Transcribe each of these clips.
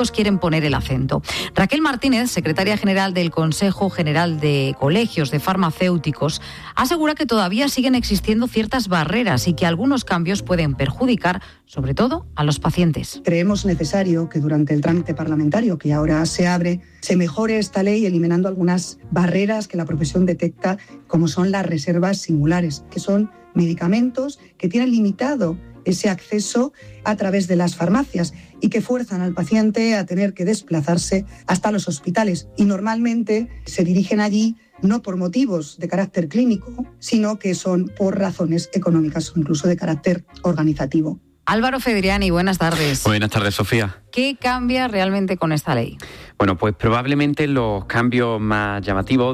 quieren poner el acento. Raquel Martínez, secretaria general del Consejo General de Colegios de Farmacéuticos, asegura que todavía siguen existiendo ciertas barreras y que algunos cambios pueden perjudicar, sobre todo, a los pacientes. Creemos necesario que durante el trámite parlamentario que ahora se abre, se mejore esta ley eliminando algunas barreras que la profesión detecta, como son las reservas singulares, que son medicamentos que tienen limitado ese acceso a través de las farmacias y que fuerzan al paciente a tener que desplazarse hasta los hospitales. Y normalmente se dirigen allí no por motivos de carácter clínico, sino que son por razones económicas o incluso de carácter organizativo. Álvaro Fedriani, buenas tardes. Buenas tardes, Sofía. ¿Qué cambia realmente con esta ley? Bueno, pues probablemente los cambios más llamativos,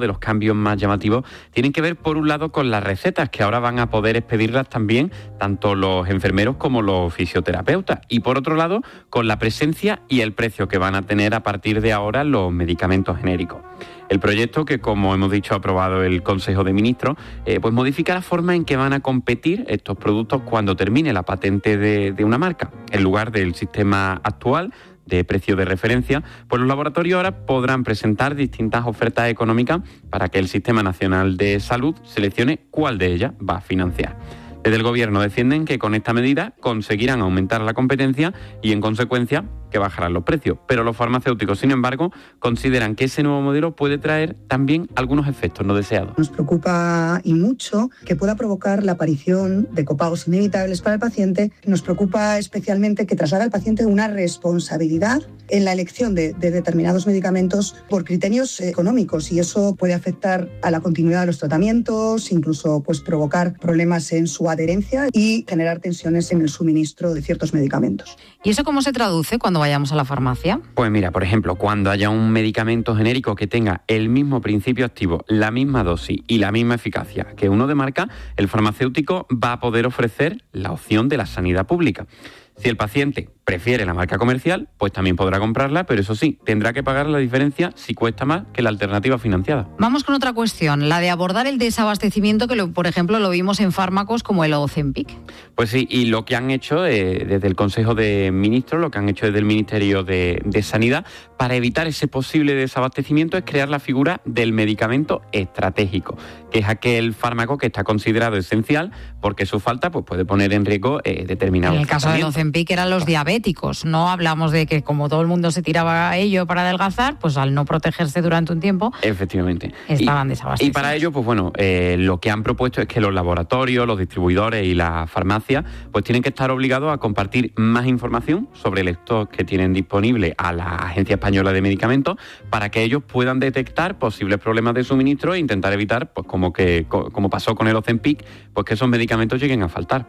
tienen que ver por un lado con las recetas, que ahora van a poder expedirlas también tanto los enfermeros como los fisioterapeutas. Y por otro lado, con la presencia y el precio que van a tener a partir de ahora los medicamentos genéricos. El proyecto, que como hemos dicho ha aprobado el Consejo de Ministros, pues modifica la forma en que van a competir estos productos cuando termine la patente de una marca. En lugar del sistema actual de precio de referencia, pues los laboratorios ahora podrán presentar distintas ofertas económicas para que el Sistema Nacional de Salud seleccione cuál de ellas va a financiar. Desde el Gobierno defienden que con esta medida conseguirán aumentar la competencia y, en consecuencia, que bajarán los precios. Pero los farmacéuticos, sin embargo, consideran que ese nuevo modelo puede traer también algunos efectos no deseados. Nos preocupa y mucho que pueda provocar la aparición de copagos inevitables para el paciente. Nos preocupa especialmente que traslade al paciente una responsabilidad en la elección de determinados medicamentos por criterios económicos, y eso puede afectar a la continuidad de los tratamientos, incluso pues provocar problemas en su adherencia y generar tensiones en el suministro de ciertos medicamentos. ¿Y eso cómo se traduce cuando vayamos a la farmacia? Pues mira, por ejemplo, cuando haya un medicamento genérico que tenga el mismo principio activo, la misma dosis y la misma eficacia que uno de marca, el farmacéutico va a poder ofrecer la opción de la sanidad pública. Si el paciente prefiere la marca comercial, pues también podrá comprarla, pero eso sí, tendrá que pagar la diferencia si cuesta más que la alternativa financiada. Vamos con otra cuestión, la de abordar el desabastecimiento, que por ejemplo lo vimos en fármacos como el Ozempic. Pues sí, y lo que han hecho desde el Consejo de Ministros, lo que han hecho desde el Ministerio de Sanidad, para evitar ese posible desabastecimiento, es crear la figura del medicamento estratégico, que es aquel fármaco que está considerado esencial porque su falta pues, puede poner en riesgo determinados. En el caso del Ozempic eran los diabéticos. No hablamos de que como todo el mundo se tiraba a ello para adelgazar, pues al no protegerse durante un tiempo, efectivamente, estaban desabastecidos. Y para ello, pues bueno, lo que han propuesto es que los laboratorios, los distribuidores y las farmacias pues tienen que estar obligados a compartir más información sobre el stock que tienen disponible a la Agencia Española de Medicamentos para que ellos puedan detectar posibles problemas de suministro e intentar evitar, pues como pasó con el Ozempic, pues que esos medicamentos lleguen a faltar.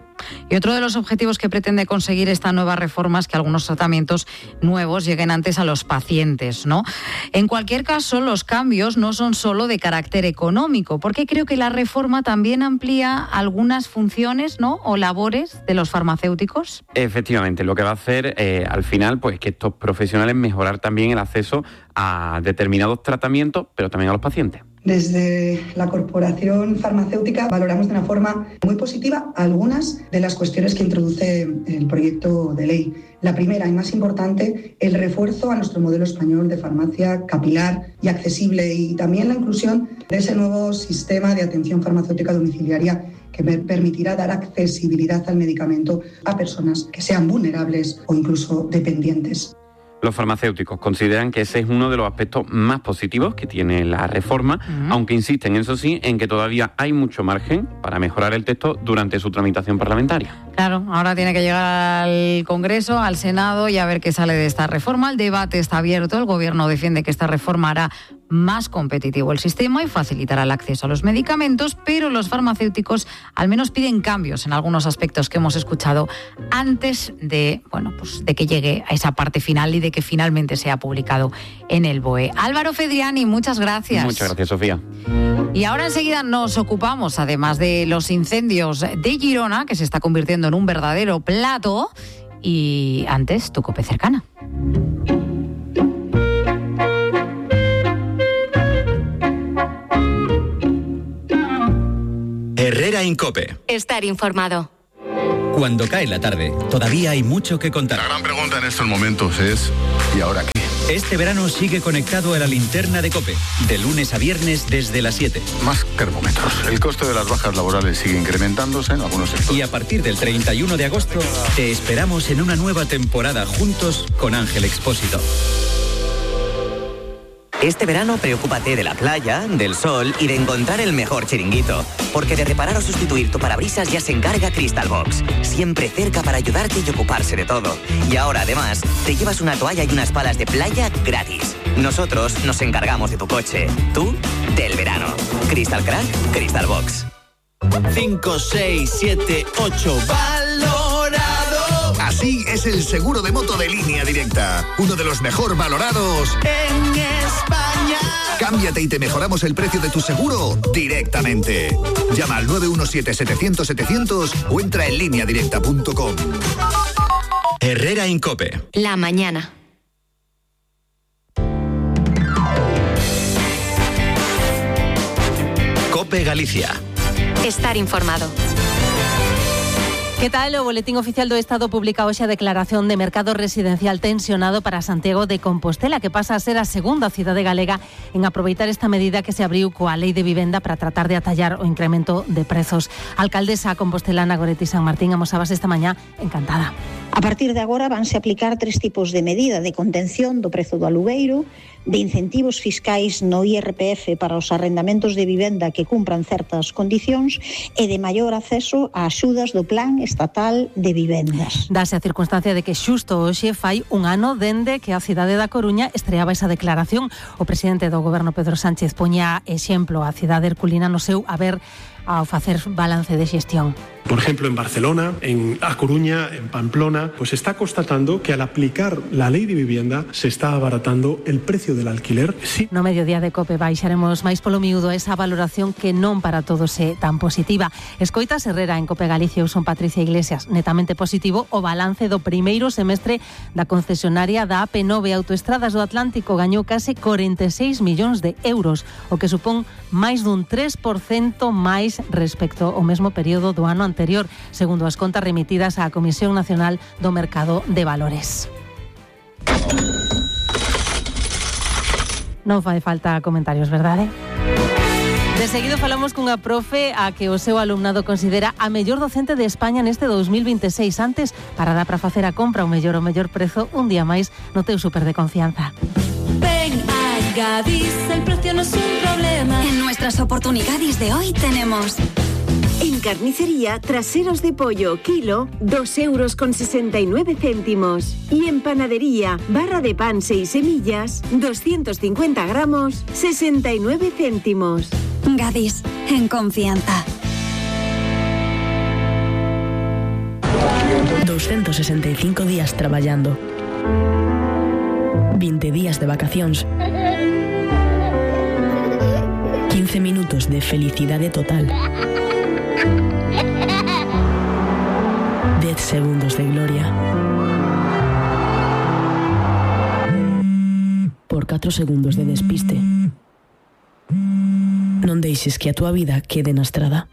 Y otro de los objetivos que pretende conseguir esta nueva reforma es que algunos tratamientos nuevos lleguen antes a los pacientes, ¿no? En cualquier caso, los cambios no son solo de carácter económico, porque creo que la reforma también amplía algunas funciones, ¿no?, o labores de los farmacéuticos. Efectivamente, lo que va a hacer al final, pues que estos profesionales mejorar también el acceso a determinados tratamientos, pero también a los pacientes. Desde la Corporación Farmacéutica valoramos de una forma muy positiva algunas de las cuestiones que introduce el proyecto de ley. La primera y más importante, el refuerzo a nuestro modelo español de farmacia capilar y accesible, y también la inclusión de ese nuevo sistema de atención farmacéutica domiciliaria que permitirá dar accesibilidad al medicamento a personas que sean vulnerables o incluso dependientes. Los farmacéuticos consideran que ese es uno de los aspectos más positivos que tiene la reforma, aunque insisten, eso sí, en que todavía hay mucho margen para mejorar el texto durante su tramitación parlamentaria. Claro, ahora tiene que llegar al Congreso, al Senado, y a ver qué sale de esta reforma. El debate está abierto, el Gobierno defiende que esta reforma hará más competitivo el sistema y facilitará el acceso a los medicamentos, pero los farmacéuticos al menos piden cambios en algunos aspectos que hemos escuchado antes de, de que llegue a esa parte final y de que finalmente sea publicado en el BOE. Álvaro Fedriani, muchas gracias. Muchas gracias, Sofía. Y ahora enseguida nos ocupamos, además de los incendios de Girona, que se está convirtiendo en un verdadero plato, y antes tu COPE cercana. Herrera en COPE. Estar informado. Cuando cae la tarde, todavía hay mucho que contar. La gran pregunta en estos momentos es, ¿y ahora qué? Este verano sigue conectado a la linterna de COPE, de lunes a viernes desde las 7. Más termómetros. El coste de las bajas laborales sigue incrementándose en algunos sectores. Y a partir del 31 de agosto, te esperamos en una nueva temporada juntos con Ángel Expósito. Este verano preocúpate de la playa, del sol y de encontrar el mejor chiringuito. Porque de reparar o sustituir tu parabrisas ya se encarga Crystal Box. Siempre cerca para ayudarte y ocuparse de todo. Y ahora además te llevas una toalla y unas palas de playa gratis. Nosotros nos encargamos de tu coche. Tú, del verano. Crystal Crack, Crystal Box. 5, 6, 7, 8. ¡Valorado! Así es el seguro de moto de Línea Directa. Uno de los mejor valorados en España. Cámbiate y te mejoramos el precio de tu seguro directamente. Llama al 917-700-700 o entra en lineadirecta.com. Herrera en COPE. La mañana. COPE Galicia. Estar informado. Que tal? O Boletín Oficial do Estado publica hoxe a declaración de mercado residencial tensionado para Santiago de Compostela, que pasa a ser a segunda cidade galega en aproveitar esta medida que se abriu coa Lei de Vivenda para tratar de atallar o incremento de prezos. A alcaldesa compostelana Goretti San Martín amosabas esta mañá encantada. A partir de agora vanse aplicar 3 tipos de medida de contención do prezo do alugueiro, de incentivos fiscais no IRPF para os arrendamentos de vivenda que cumpran certas condicións e de maior acceso a axudas do Plan Estatal de Vivendas. Dase a circunstancia de que xusto hoxe fai un ano dende que a cidade da Coruña estreaba esa declaración. O presidente do goberno Pedro Sánchez poña exemplo a cidade herculina no seu haber ao facer balance de xestión. Por ejemplo, en Barcelona, en A Coruña, en Pamplona, pues se está constatando que al aplicar la ley de vivienda se está abaratando el precio del alquiler. Sí. No mediodía de COPE baixaremos máis polo miúdo esa valoración que non para todos é tan positiva. Escoitas Herrera en COPE Galicia, eu son Patricia Iglesias. Netamente positivo o balance do primeiro semestre da concesionaria da AP9 Autoestradas do Atlántico. Gañou case 46 millóns de euros, o que supón máis dun 3% máis respecto ao mesmo período do ano anterior, segundo as contas remitidas á Comisión Nacional do Mercado de Valores. Non fai falta comentarios, verdade? De seguido falamos cunha profe a que o seu alumnado considera a mellor docente de España neste 2026. Antes, para dar para facer a compra o mellor prezo, un día máis no teu súper de confianza. Ven a Gadis, el precio no es un problema. En nuestras oportunidades de hoy tenemos... En carnicería, traseros de pollo, kilo, 2,69 €. Y en panadería, barra de pan 6 semillas, 250 gramos, 69 céntimos. Gadis, en confianza. 265 días traballando. 20 días de vacacións. 15 minutos de felicidade total. 10 segundos de gloria. Por 4 segundos de despiste. Non deixes que a túa vida quede na estrada.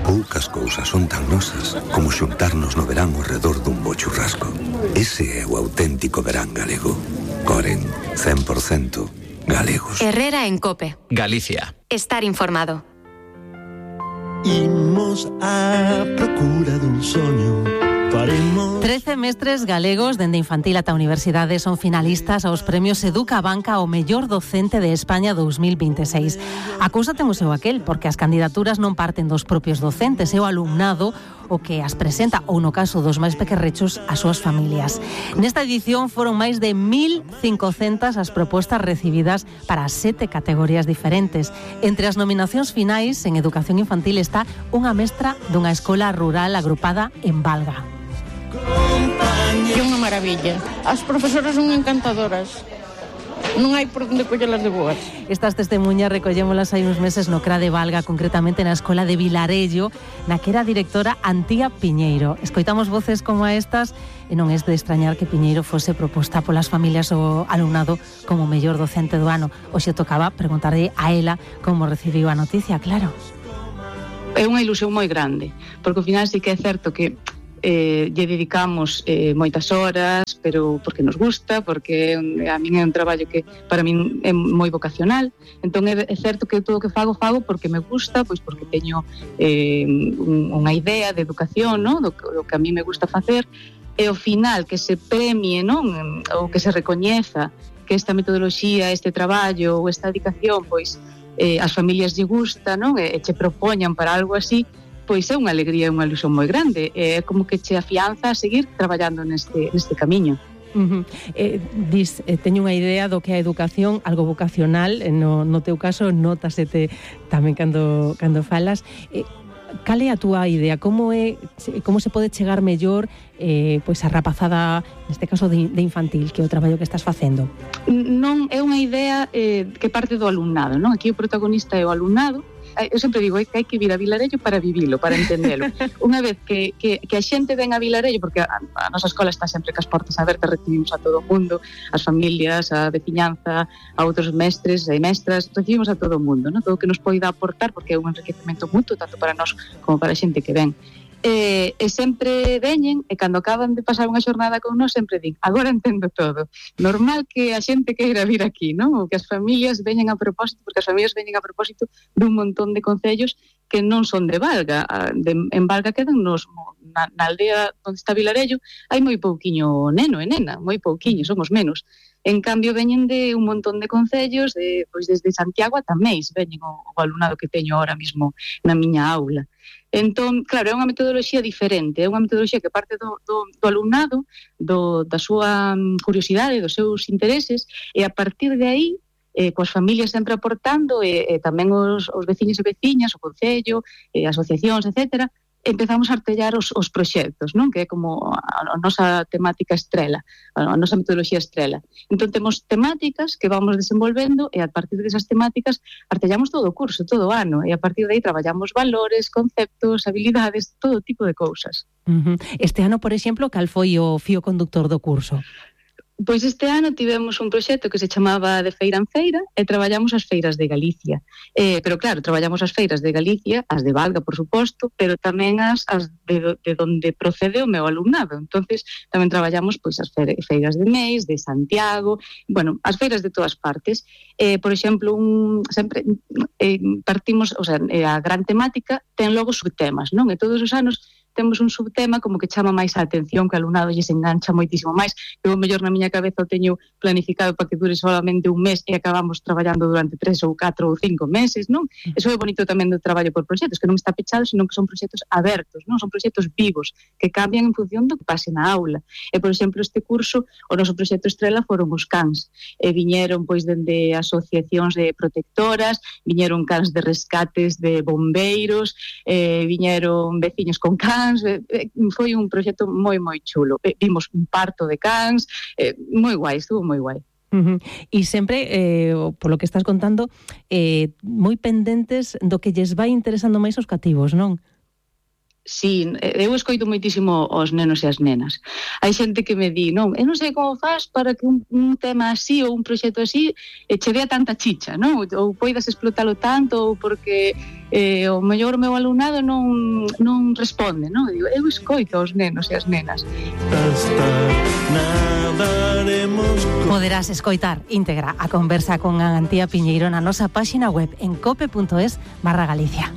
Poucas cousas son tan nosas como xuntarnos no verán ao redor dun bo churrasco. Ese é o auténtico verán galego. Coren, 100% galegos. Herrera en COPE. Galicia. Estar informado. Imos a procura dun soño. Faremos... 13 mestres galegos dende infantil ata universidade son finalistas aos premios Educa Banca ao mellor docente de España 2026. A cousa ten o seu aquel, porque as candidaturas non parten dos propios docentes, é o alumnado o que as presenta, ou no caso dos máis pequerrechos, as súas familias. Nesta edición foron máis de 1.500 as propostas recibidas para 7 categorías diferentes. Entre as nominacións finais en educación infantil está unha mestra dunha escola rural agrupada en Valga. É unha maravilla. As profesoras son encantadoras. Non hai por onde collelas de boas. Estas testemunhas recollémolas hai uns meses no CRA de Valga, concretamente na escola de Vilarello, na que era directora Antía Piñeiro. Escoitamos voces como a estas e non é de extrañar que Piñeiro fose proposta polas familias ou alumnado como mellor docente do ano. Hoxe tocaba preguntarlle a ela como recibiu a noticia, claro. é unha ilusión moi grande, porque ao final sí que é certo que lle dedicamos moitas horas, pero porque nos gusta, porque a min é un traballo que para min é moi vocacional. Entón é certo que todo o que fago porque me gusta, pois porque teño unha idea de educación, non? Do que a mí me gusta facer, e ao final que se premie, non? Ou que se recoñeza que esta metodoloxía, este traballo ou esta dedicación, pois as familias lle gusta, non? E che propoñan para algo así, pois é unha alegría e unha ilusión moi grande. É como que che afianza a seguir traballando neste camiño. Teño unha idea do que é a educación, algo vocacional, no teu caso nótasete tamén cando falas. Cal é a túa idea? Como se pode chegar mellor pois a rapazada, neste caso de infantil, que é o traballo que estás facendo? Non é unha idea que parte do alumnado, non? Aquí o protagonista é o alumnado. Eu sempre digo que hai que vir a Vilarello para vivilo, para entendelo. Unha vez que a xente ven a Vilarello, porque a nosa escola está sempre cas portas abertas, recibimos a todo o mundo, as familias, a veciñanza, a outros mestres e mestras, recibimos a todo o mundo, non? Todo o que nos poida aportar, porque é un enriquecemento mutuo, tanto para nós como para a xente que ven. E sempre veñen, e cando acaban de pasar unha xornada con nós, sempre din, agora entendo todo. Normal que a xente queira vir aquí, non? Ou que as familias veñen a propósito, porque as familias veñen a propósito dun montón de concellos que non son de Valga. En Valga quedan na aldea onde está Vilarello, hai moi pouquiño neno e nena, moi pouquiño, somos menos. En cambio, veñen de un montón de concellos, pois desde Santiago ata Meis, veñen o alumnado que teño ahora mismo na miña aula. Entón, claro, é unha metodoloxía diferente, é unha metodoloxía que parte do alumnado, da súa curiosidade, dos seus intereses, e a partir de aí, coas familias sempre aportando, e tamén os veciños e veciñas, o concello, asociacións, etcétera, empezamos a artellar os proxectos, non? Que é como a nosa temática estrela, a nosa metodoloxía estrela. Entón temos temáticas que vamos desenvolvendo e a partir desas temáticas artellamos todo o curso, todo o ano, e a partir de aí traballamos valores, conceptos, habilidades, todo tipo de cousas. Este ano, por exemplo, cal foi o fío conductor do curso? Pois este ano tivemos un proxecto que se chamaba De Feira en Feira e traballamos as feiras de Galicia. Pero claro, traballamos as feiras de Galicia, as de Valga, por suposto, pero tamén as de onde procede o meu alumnado. Entonces tamén traballamos pois as feiras de Meis, de Santiago, bueno, as feiras de todas partes. Por exemplo, sempre partimos, o sea, a gran temática ten logo subtemas, non? E todos os anos temos un subtema como que chama máis a atención, que o alumnado lle se engancha moitísimo máis. Eu, mellor, na miña cabeza o teño planificado para que dure solamente un mes e acabamos traballando durante 3 ou 4 ou 5 meses, non? Eso é bonito tamén do traballo por proxectos, que non está pechado, senón que son proxectos abertos, non? Son proxectos vivos, que cambian en función do que pase na aula. E, por exemplo, este curso, o noso proxecto estrela foron os cans. Viñeron, pois, dende asociacións de protectoras, viñeron cans de rescates de bombeiros, viñeron veciños con cans. Foi un proxecto moi chulo. Vimos un parto de cans, moi guai, estuvo moi guai. E sempre, polo que estás contando, moi pendentes do que lles vai interesando máis os cativos, non? Sí, eu escoito moitísimo os nenos e as nenas. Hai xente que me di, non, eu non sei como faz para que un tema así ou un proxecto así che dea tanta chicha, non? Ou poidas explotalo tanto, ou porque o mellor o meu alumnado non responde, non? Digo, eu escoito os nenos e as nenas. Poderás escoitar íntegra a conversa con Antía Piñeiro na nosa páxina web en cope.es/Galicia.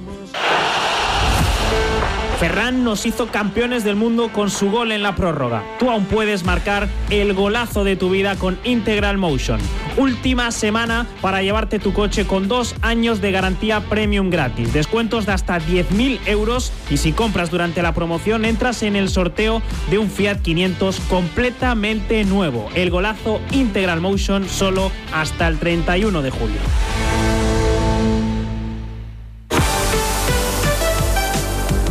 Ferran nos hizo campeones del mundo con su gol en la prórroga. Tú aún puedes marcar el golazo de tu vida con Integral Motion. Última semana para llevarte tu coche con 2 años de garantía premium gratis. Descuentos de hasta 10.000 euros y si compras durante la promoción entras en el sorteo de un Fiat 500 completamente nuevo. El golazo Integral Motion solo hasta el 31 de julio.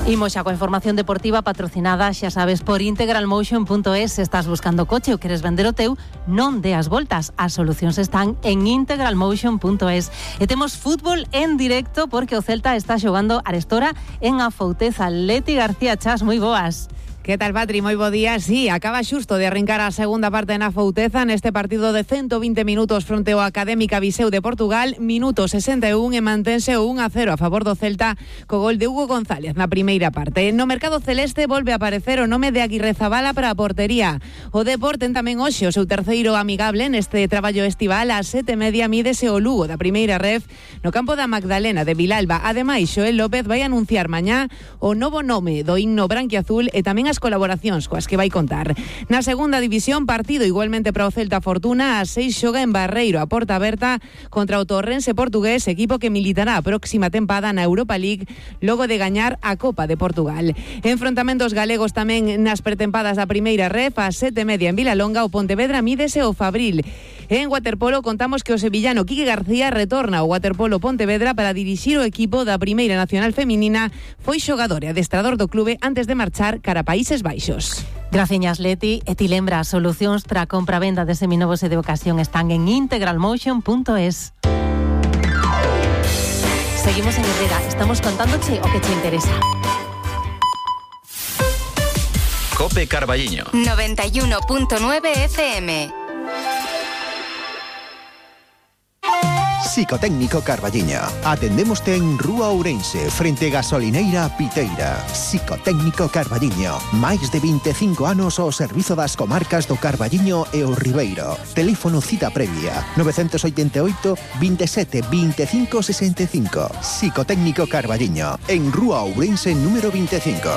Imos xa coa información deportiva patrocinada, xa sabes, por integralmotion.es. Se estás buscando coche ou queres vender o teu, non deas voltas. As solucións están en integralmotion.es. E temos fútbol en directo porque o Celta está xogando arestora en Afouteza. Leti García Chas, moi boas. Que tal, Patri? Moi bo día. Sí, acaba xusto de arrincar a segunda parte na Fouteza neste partido de 120 minutos fronte ao Académica Viseu de Portugal, minuto 61 e mantense o 1-0 a favor do Celta co gol de Hugo González na primeira parte. No mercado celeste volve a aparecer o nome de Aguirre Zabala para a portería. O Depor ten tamén hoxe o seu terceiro amigable neste traballo estival. A 7:30 mídese o Lugo da primeira ref no campo da Magdalena de Vilalba. Ademais, Xoel López vai anunciar mañá o novo nome do himno branquiazul e tamén as colaboracións coas que vai contar. Na segunda división, partido igualmente para o Celta Fortuna. A 6 xoga en Barreiro, a porta aberta contra o Torrense portugués, equipo que militará a próxima tempada na Europa League logo de gañar a Copa de Portugal. Enfrontamentos galegos tamén nas pretempadas da primeira ref. A 7:30 en Vilalonga, o Pontevedra mídese o Fabril. En waterpolo contamos que o sevillano Quique García retorna ao waterpolo Pontevedra para dirixir o equipo da Primeira Nacional Feminina. Foi xogador e adestrador do clube antes de marchar cara a Países Baixos. Graciñas, Leti. E ti lembra, as solucións para a compra-venda de seminovos e de ocasión están en integralmotion.es. Seguimos en Herrera. Estamos contándoche o que te interesa. Cope Carballiño 91.9 FM. Psicotécnico Carballiño. Atendémoste en Rúa Ourense, frente Gasolineira Piteira. Psicotécnico Carballiño. Máis de 25 anos ao servizo das comarcas do Carballiño e o Ribeiro. Teléfono cita previa 988 27 25 65. Psicotécnico Carballiño, en Rúa Ourense número 25.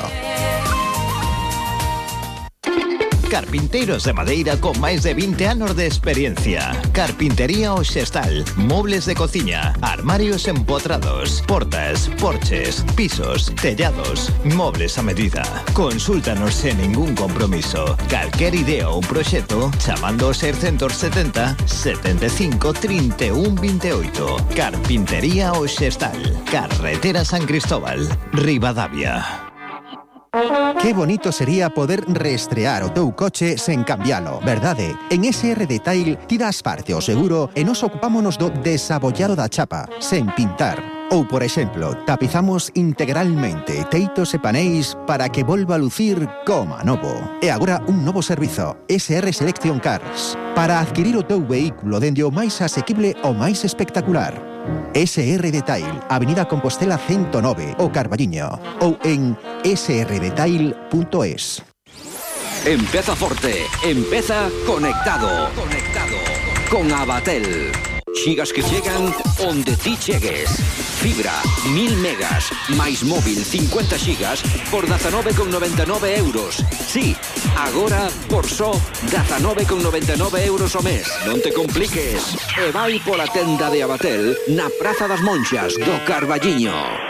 Carpinteiros de madeira con máis de 20 anos de experiencia. Carpintería Oxestal, mobles de cociña, armarios empotrados, portas, porches, pisos, tellados, mobles a medida. Consúltanos sen ningún compromiso. Calquer idea ou proxecto chamando ao 670 75 31 28. Carpintería Oxestal, Carretera San Cristóbal, Ribadavia. Que bonito sería poder reestrear o teu coche sen cambialo, verdade? En SR Detail tiras parte ao seguro e nos ocupámonos do desabollado da chapa, sen pintar. Ou, por exemplo, tapizamos integralmente teitos e paneis para que volva a lucir como novo. E agora un novo servizo, SR Selection Cars, para adquirir o teu vehículo dende o máis asequible ao máis espectacular. SR Detail, Avenida Compostela 109, o Carballiño, ou en srdetail.es. Empeza forte, empeza conectado. Con Abatel. Xigas que chegan onde ti chegues. Fibra, 1000 megas, máis móvil 50 xigas por 19,99 euros. Sí, agora por só 19,99 euros ao mes. Non te compliques. E vai pola tenda de Abatel na Praza das Monxas do Carballiño.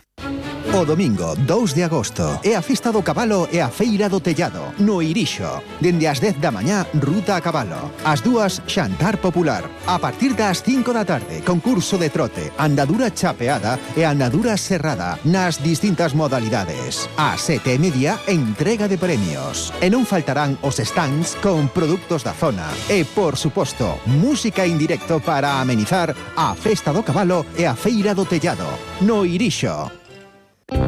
O domingo 2 de agosto é a Festa do Cabalo e a Feira do Tellado, no Irixo. Dende as 10 da mañá, ruta a cabalo. As 2, xantar popular. A partir das 5 da tarde, concurso de trote, andadura chapeada e andadura serrada, nas distintas modalidades. A 7:30, entrega de premios. E non faltarán os stands con produtos da zona. E, por suposto, música en directo para amenizar a Festa do Cabalo e a Feira do Tellado, no Irixo.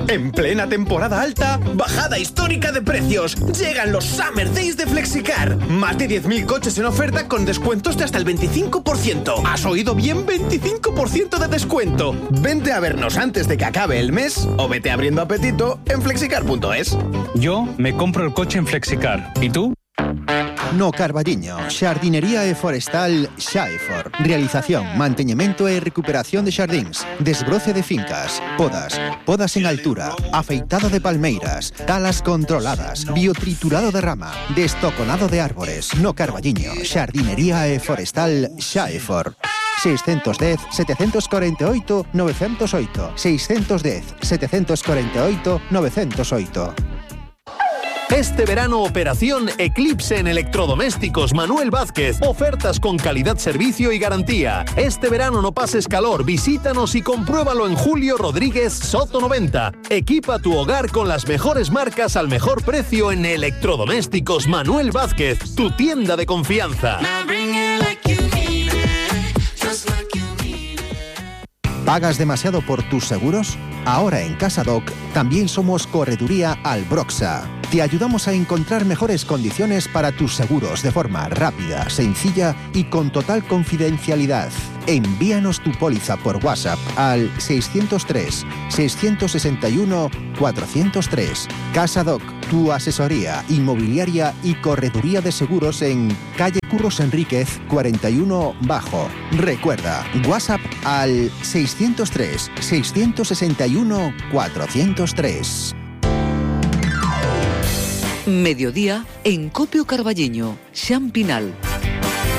En plena temporada alta, bajada histórica de precios. Llegan los Summer Days de Flexicar. Más de 10.000 coches en oferta con descuentos de hasta el 25%. ¿Has oído bien? 25% de descuento. Vente a vernos antes de que acabe el mes o vete abriendo apetito en flexicar.es. Yo me compro el coche en Flexicar. ¿Y tú? No Carballiño, xardinería e forestal Xaefor. Realización, manteñemento e recuperación de xardíns, desbroce de fincas, podas en altura, afeitado de palmeiras, talas controladas, biotriturado de rama, destoconado de árbores. No Carballiño, xardinería e forestal Xaefor. 610 748 908. 610 748 908. Este verano, operación Eclipse en electrodomésticos Manuel Vázquez. Ofertas con calidad, servicio y garantía. Este verano no pases calor, visítanos y compruébalo en Julio Rodríguez Soto 90. Equipa tu hogar con las mejores marcas al mejor precio en electrodomésticos Manuel Vázquez, tu tienda de confianza. ¿Pagas demasiado por tus seguros? Ahora en Casadoc también somos Correduría Albroxa. Te ayudamos a encontrar mejores condiciones para tus seguros de forma rápida, sencilla y con total confidencialidad. Envíanos tu póliza por WhatsApp al 603-661-403. CasaDoc, tu asesoría inmobiliaria y correduría de seguros en calle Curros Enríquez 41 Bajo. Recuerda, WhatsApp al 603-661-403. Mediodía en Copio Carballiño, Xan Pinal.